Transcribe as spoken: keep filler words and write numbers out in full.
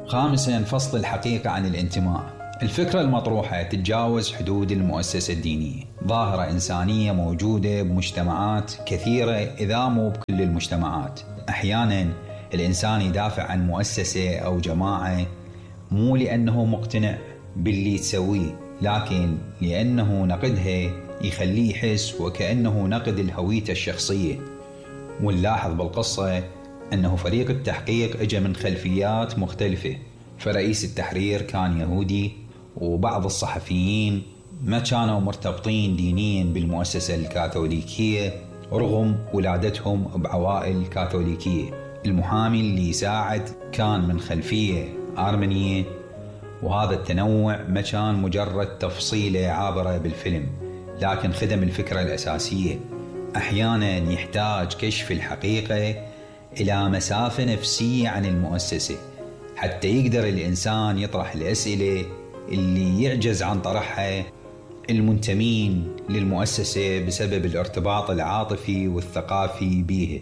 خامساً، فصل الحقيقة عن الانتماء. الفكرة المطروحة تتجاوز حدود المؤسسة الدينية، ظاهرة إنسانية موجودة بمجتمعات كثيرة إذا مو بكل المجتمعات. أحياناً الإنسان يدافع عن مؤسسة أو جماعة مو لأنه مقتنع باللي تسويه، لكن لأنه نقدها يخليه يحس وكأنه نقد الهوية الشخصية. ونلاحظ بالقصة أنه فريق التحقيق اجى من خلفيات مختلفة، فرئيس التحرير كان يهودي، وبعض الصحفيين ما كانوا مرتبطين دينيا بالمؤسسة الكاثوليكية رغم ولادتهم بعوائل كاثوليكية. المحامي اللي يساعد كان من خلفية آرمنية، وهذا التنوع ما كان مجرد تفصيلة عابرة بالفيلم، لكن خدم الفكرة الأساسية. أحيانا يحتاج كشف الحقيقة إلى مسافة نفسية عن المؤسسة حتى يقدر الإنسان يطرح الأسئلة اللي يعجز عن طرحها المنتمين للمؤسسة بسبب الارتباط العاطفي والثقافي بيها.